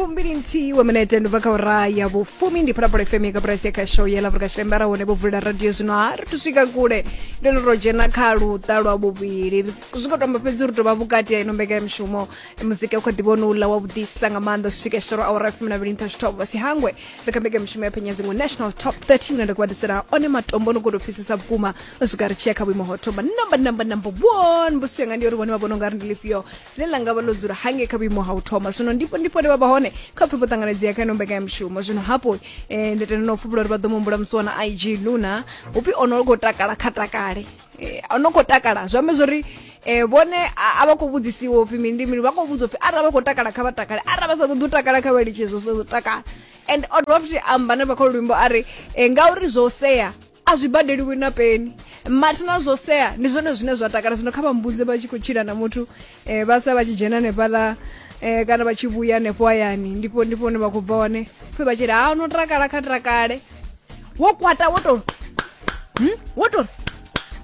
21 wa minete ndi bva kha ura ya vhufumi. Ndi Phalaphala FM ya Kaburasi ya khasho ya ḽa Afrika Tshipembe. Arali hone vho vulela radio zwino, ha ri thu swika kule, ndo no ro dzhena kha luṱa lwa vhuvhili. Zwi khou tamba fhedzi uri tovha vhukati ha ino mbekanyamushumo. Muzika u kha ḓi vhona uḽa wa vhuḓisa nga maanḓa swika shoro awara ya 12 nṱha zwithobo. Vha si hangwe ri kha mbekanyamushumo ya phenya dziṅwe National Top 30, ine nda khou vha ḓisela one matombo no koto pfisesa vhukuma u swika ri tshi ya kha vhuimo ho thoma, number 1. Mbudziso yanga ndi uri vhone vha vhona ungari ndi lifhio ḽine ḽa nga vha ḽo dzula hangei kha vhuimo ha u thoma zwino? Ndipo vha vha hone kha pfhi vho ṱanganedzea kha ino mbekanyamushumo zwino. Hafho ndi tenda na u pfuvhula uri vha ḓo muhumbula musi wana IG Luna upfhi ono khou takala kha takale. Ono khou takala zwi amba zwori vhone a vha khou vhudzisiwa upfhi mini ndi mini, vha khou vhudzwa upfhi arali vha khou takala kha vha takale, arali vha sa ṱoḓi u takala kha vha litshe zwo takala. And o dovha futhi amba na kha luimbo a ri ngauri zwo sea a zwi badeliwi na peni, mathina zwo sea ndi zwone zwine zwa takala. Zwino kha vha mbudze, vha tshi khou tshila na muthu vha sa vha tshi dzhena hanefhaḽa kana vha tshi vhuya hanefho hayani, ndipo hune vha khou bva hone, pfhi vha tshi ri ha no takala kha takale, wo kwata wo to wo to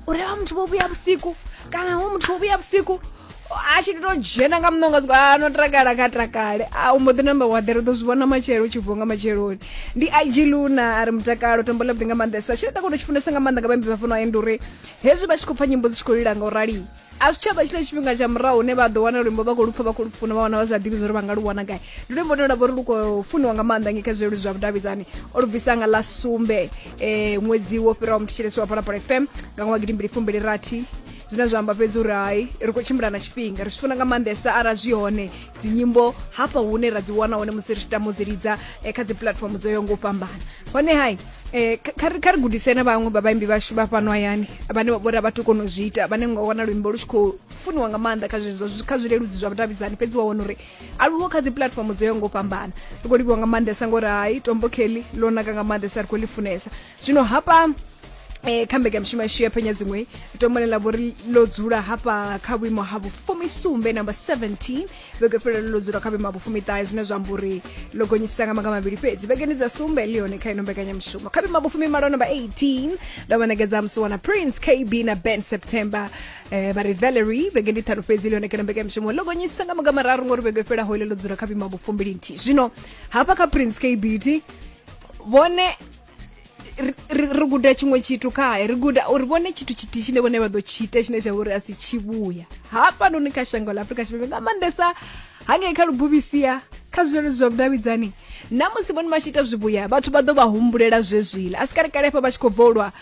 uri vha muthu vho vhuya vhusiku kana wo muthu wo vhuya vhusiku a tshi to dzhena nga muṋonga siko a no takala kha takale, a u mbo ḓi namba wa ḓela, u ḓo zwi vhona matshelo u tshi vuwa nga matsheloni. Ndi IG Luna a ri mutakalo, tombo ḽa vhuḓi nga maanḓesa. Tshine nda kona u tshi funesa nga maanḓa nga vhaimbi vha fhano ndi uri hezwi vha tshi khou pfa nyimbo dzi tshi khou lila nga u rali, a zwi tshavha tshiḽa tshifhinga tsha murahu hune vha ḓo wana luimbo vha khou lupfa, vha khou lu funa, vha wana vha sa ḓivhi zwa uri vha nga lu wana gai. Ndi luimbo lune lwa vha uri lu khou funiwa nga maanḓa ngei kha zwileludzi zwa vhudavhidzani. O lu bvisa nga ḽa 7 ṅwedzi wo fhiraho, muthetshelesi wa Phalaphala FM, nga ṅwaha 2026, zwine zwa amba fhedzi uri hai, ri khou tshimbila na tshifhinga. Ri zwi funa nga maanḓesa arali zwi hone dzinyimbo hafha hune ra dzi wana hone musi ri tshi tama u dzi lidza kha dzi platform dzo yaho nga u fhambana. Hone hai, kha ri gudise na vhaṅwe vha vhaimbi vhashu vha fhano hayani vhane vha vhori a vha tu kona u zwi ita, vhane nga wana luimbo lu tshi khou funiwa nga maanḓa kha zwezwo kha zwileludzi zwa vhudavhidzani, fhedzi wa wana uri a luho kha dzi platform dzo yaho nga u fhambana. Ri khou livhiwa nga maanḓesa ngori hai, tombo kelly ḽo naka nga maanḓesa, ri khou ḽi funesa. Zwino hafha kha mbekanyamushumo yashu ya phenya dziṅwe, tombo ḽine ḽa vhori ḽo dzula hafha kha vhuimo ha vhufumisumbe, number 17, vhege fhelelo ḽo dzula kha vhuimo ha vhufumiṱahe, zwine zwa amba uri ḽo gonyisa nga maga mavhili fhedzi vhegeni dza sumbe ḽi hone kha ino mbekanyamushumo. Kha vhuimo ha vhufumimalo, number 18, ndo vha ṋekedza musi wana Prince KB na Ben September, vha ri Valerie. Vhege ndi ṱhanu fhedzi ḽi hone kha ino mbekanyamushumo, ḽo gonyisa nga maga mararu ngori vhege fhelaho ḽo dzula kha vhuimo ha vhufumbilinthihi. Zwino hafha kha Prince KB thi vhone ri guda tshiṅwe tshithu khae, ri guda uri vhone tshithu tshithihi tshine vhone vha ḓo tshi ita tshine tsha vha uri a si tshivhuya hafhanoni kha shango ḽa Afrika Tshipembe, nga maanḓesa hangei kha lubuvhisia kha zwileludzi zwa vhudavhidzani, na musi vhone vha tshi ita zwivhuya vhathu vha ḓo vha humbulela zwezwiḽa. A si kale kale hafha vha tshi khou bvolwa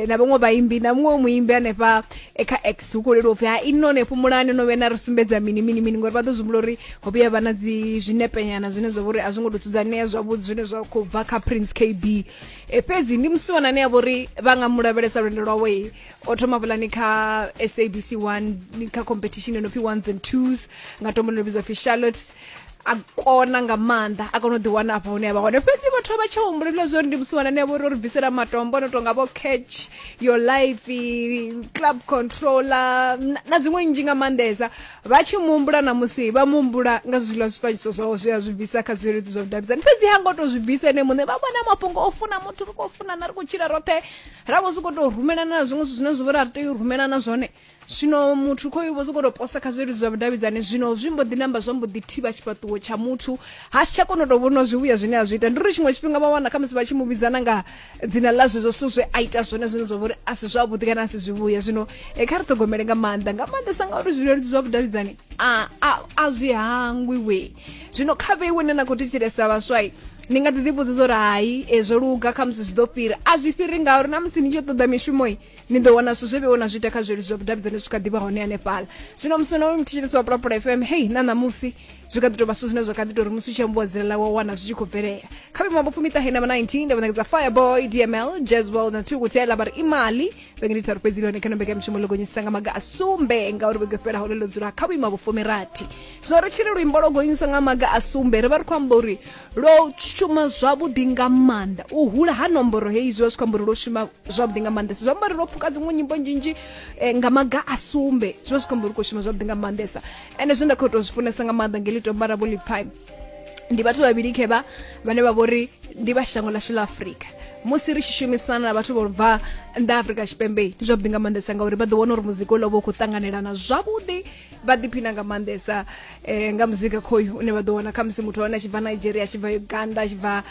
na vhaṅwe vhaimbi na muṅwe muimbi hanefha kha X, hu khou leluwa upfhi ha inone fhumulani no vhuya na ri sumbedza mini mini mini, ngori vha ḓo zwi humbula uri ho vhuya vha na dzi zwinepenyana zwine zwa vha uri a zwo ngo tou dzudzanea zwavhuḓi zwine zwa khou bva kha Prince KB. Fhedzi ndi musiwana ane a vha uri vha nga mu lavhelesa lwendo lwawe, o thoma vulani kha SABC 1 kha competition yo no pfi Ones and Twos nga tombo ḽo vhidzwa pfi Charlotte, a kona nga maanḓa, a kona u ḓiwana afha hune a vha hone. Fhedzi vhathu vha tsha humbulela zwa uri ndi musiwana ane a vha uri o ri bvisela matombo no tonga vho Catch Your Life, Club Controller na dziṅwe nnzhi nga maanḓesa. Vha tshi muhumbula na musi vha muhumbula nga zwiḽa zwifanyiso zwawe zwe a zwi bvisa kha zwileludzi zwa vhudavhidzani, fhedzi ha ngo tou zwi bvisa ene muṋe. Vha vhona mafhungo o funa muthu, ri khou funana, ri khou tshila roṱhe, ra vho sokou tou rumelana na zwiṅwe zwithu zwine zwa vha uri a ri tei u rumelana zwone. Zwino muthu khoyu vho sokou tou posa kha zwileludzi zwa vhudavhidzani, zwino zwi mbo ḓi namba zwa mbo ḓi thivha tshifhaṱuwo tsha muthu, ha si tsha kona u tou vhona zwivhuya zwine a zwi ita. Ndi uri tshiṅwe tshifhinga vha wana khamusi vha tshi mu vhidzana nga dzina ḽa zwezwo zwithu zwe a ita zwone zwine zwa vha uri a si zwavhuḓi kana a si zwivhuya. Zwino kha ri ṱhogomele nga maanḓa, nga maanḓesa ngauri zwileludzi zwa vhudavhidzani a zwi hangwi we. Zwino kha vheiwe ne na khou thetshelesa vhaswai, ni nga ḓi ḓivhudza zwa uri hai, zwo luga, khamusi zwi ḓo fhira. A zwi fhiri, ngauri na musi ni tshi ṱoḓa mishumo ni ḓo wana zwithu zwe vheiwe na zwi ita kha zwileludzi zwa vhudavhidzani zwi kha ḓivha hone hanefhaḽa. Zwino musi no muthetshelesi wa Pulapula FM, hei na ṋamusi zwi kha ḓi tou vha zwithu zwine zwa kha ḓi tou uri musi u tshi ambiwa dzina ḽawe wa wana zwi tshi khou bvelela. Kha vhuimo ha vhufumiṱahe na 19, nda vha ṋekedza Fireboy DML, Jazzwell na Thukutela, vha ri Imali. Vhege ndi tharu fhedzi ḽi hone kha mbekanyamushumo, ḽo gonyisa nga maga a sumbe ngauri vhege fhelaho ḽo dzula kha vhuimo ha vhufumirathi. Zwino ri tshi ri luimbo lwo gonyisa nga maga a sumbe, ri vha ri khou amba uri lwo shuma zwavhuḓi nga maanḓa. U hula ha nomboro heyi zwi vha zwi khou amba uri lwo shuma zwavhuḓi nga maanḓesa, zwi amba uri lwo pfuka dziṅwe nyimbo nzhinzhi nga maga a sumbe, zwi vha zwi khou amba uri khou shuma zwavhuḓi nga maanḓesa. Ende zwine nda khou tou zwi funesa nga maanḓa ngeli tomba ra vho ḽipfai ndi vhathu vhavhili khevha vhane vha vhori ndi vha shango ḽashu ḽa Afrika. Musi ri tshi shumisana na vhathu vho bva Nnḓa Afrika Tshipembe ndi zwavhuḓi nga maanḓesa ngauri vha ḓo wana uri muzika uḽa vha u khou ṱanganelana zwavhuḓi, vha ḓiphina nga maanḓesa nga muzika khoyu une vha ḓo wana khamusi muthu wane a tshi bva Nigeria, a tshi bva Uganda, a tshi bva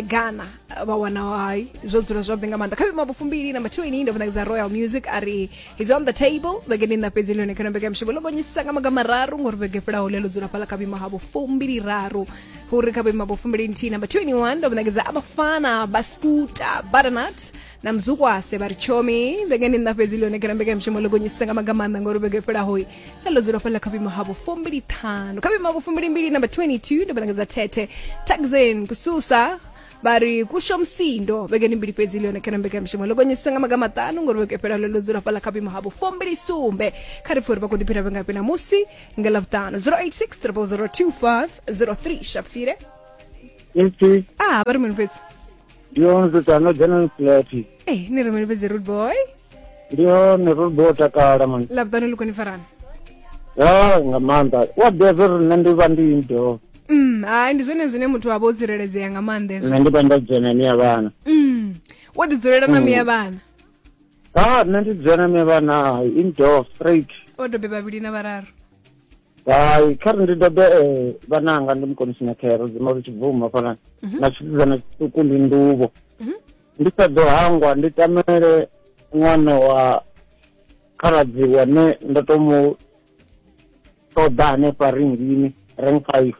Ghana, vha wana hai zwo dzula zwavhuḓi nga maanḓa. Kha vhuimo vhufumbili namba 20 ndo vhona Royal Music a ri he's on the table. Vhege ndi nṋa fhedzi ḽone kana mbekanyamushumo ḽo gonyisa nga maga mararu ngori vhege fhelaho ḽe ḽo dzula fhaḽa kha vhuimo ha vhufumbili raru uri kha vhuimo ha vhufumbili nthihi namba 21 ndo vhona Abafana Baskuta Butternut na Mzukwase vha ri tshomi. Vhege ndi nṋa fhedzi ḽone kana mbekanyamushumo ḽo gonyisa nga maga maanḓa ngori vhege fhelaho ḽe ḽo dzula fhaḽa kha vhuimo ha vhufumbili ṱhanu. Kha vhuimo ha vhufumbili mbili namba 22 ndo vhona Thethe Taxen Kususa vha ri kusho msindo. Vhege ndi mbili fhedzi ḽone kana mbekanyamushumo ḽo gonyisa nga maga maṱanu ngori vhege fhelaho ḽo dzula fhaḽa kha vhuimo ha vhufumbili sumbe. Kha ri pfhe uri vha khou ḓiphina vhengafhi namusi nga Ḽavhuṱanu. 086 0002503 Shapfire. Ipfi Ah, vha ri mini fhedzi? Ndi hone zwithu no dzhena ni flat. Eh, ni ri mini fhedzi, rude boy? Ndi hone ro bo takala man. Ḽavhuṱanu ḽi khou ni farana? Ya nga maanḓa. Wa ḓivha uri nṋe ndi vha ndi indoor. Hai, ndi zwone zwine muthu a vha o tsireledzea nga maanḓa hezwo. Nṋe ndi vha ndo dzhena ni ya vhana. Wo ḓi dzulela na miya vhana? Ah, nṋe ndi dzhena mi vhana indoor straight. O dobe vhavhili na vhararu? Hai, kha ri ndi dobe vhananga ndi mukonisi na khero dzima ri tshibvuma fana na tshisidzana tshiṱuku ndi nduvho. Ndi sa ḓo hangwa ndi tamele ṅwana wa khaladzi wane ndo to mu ṱoḓa hanefha ringini rank 5.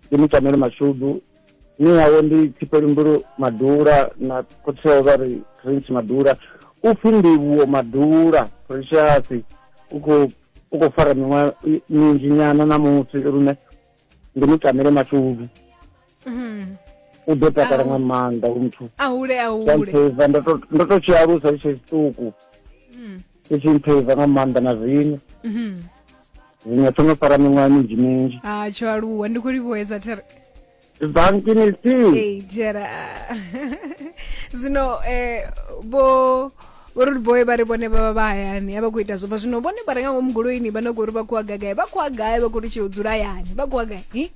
Ndi mu tamele mashudu. Ni yawe ndi Tshipelimbulu Madula na khotsi wawe vha ri Prince Madula. U pfi Ndivhuwo Madula Precious u khou fara miṅwaha minzhi nyana ṋamusi lune ndi mu tamele mashudu. U ḓo takala nga maanḓa u muthu. A hule a hule. Mpheiva ndo to tshi alusa tshi tshiṱuku. Tshi tshi mpheiva nga maanḓa na zwino. Zwino tsho no fara miṅwaha minzhi minzhi. Ah, tsho aluwa, ndi khou livhuwesa there. Bankini si. Ee, tshera. Zwino vho rude boy vha ri vhone vha vha vha hayani a vha khou ita zwo bva zwino vhone vha re nga ngomu goloini vha no khou ri vha khou a gai, vha khou a gai, vha khou ri tshi dzula hayani, vha khou a gai. Hi?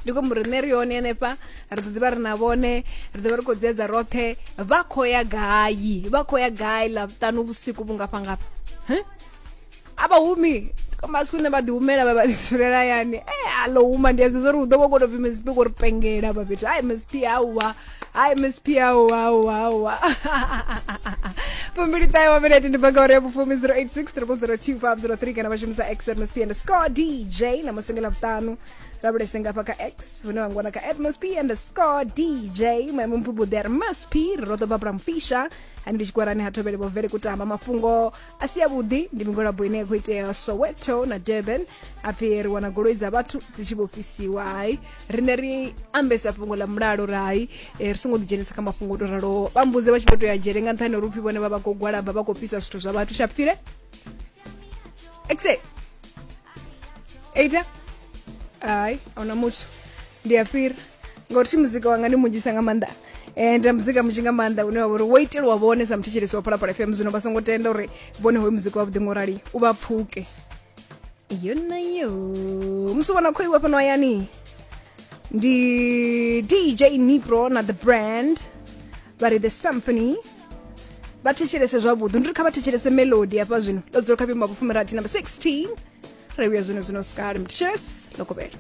Ndi khou amba uri nṋe ri hone hanefha, ri ḓo ḓivha ri na vhone, ri ḓo vha ri khou dzedza roṱhe. Vha khou ya gai? Vha khou ya gai Ḽavhuṱanu vhusiku vhungafha ngafha? A vha humi masiku nṋe vha ḓi humela vha vha ḓi dzulela hayani. A ḽo huma ndi a zwi uri hu ḓo vha khou tou pfhi Msp khou ri pengela hafha fhethu. Hai Msp hauwa, hai Msp hauwa hauwa hauwa. 29 wa minete ndi banga uri ya vhufumi 086 0002503 kana vha shumisa X at Msp underscore DJ na musi nga Ḽavhuṱanu lavhelese ngafha kha X hune vha ngwana kha at Msp underscore DJ. Maimo mphubuḓe a ri Msp ri ro ḓo babra mfisha hani ndi tshikwarani ha Thovhele vho vele kutamba mafhungo a si avhuḓi ndi migwalabo ine ya khou itea Soweto na Durban. A pfhi ri wana goloi dza vhathu dzi tshi vho fhisiwa. Hai, riṋe ri ambesa fhungo ḽa mulalo ri hai ri songo ḓidzhenisa kha mafhungo o to raloho. Vha mbudze vha tshi vho to ya dzhele nga nṱhani ha uri upfhi vhone vha vha khou gwalaba vha khou fhisa zwithu zwa vhathu. Shapfile exe eita hai ahuna muthu ndi a fhira ngauri thi muzika wanga ndi munzhisa nga maanḓa. Ndi na muzika munzhi nga maanḓa une wa vha uri wo itelwa vhone sa muthetshelesi wa Phalaphala FM. Zwino vha songo tenda uri vhone hoyu muzika wavhuḓi ngo rali u vha pfuke. Iyo na yo musi vhona khou iwa fhano hayani ndi DJ Nipro na The Brand vha ri The Symphony. Vha thetshelese zwavhuḓi, ndi ri kha vha thetshelese melody hafha zwino ḽo dzula kha vhuimo ha vhufumirathi number 16 ri vhuya zwino zwino sikale muthetshelesi ḽo kovhela.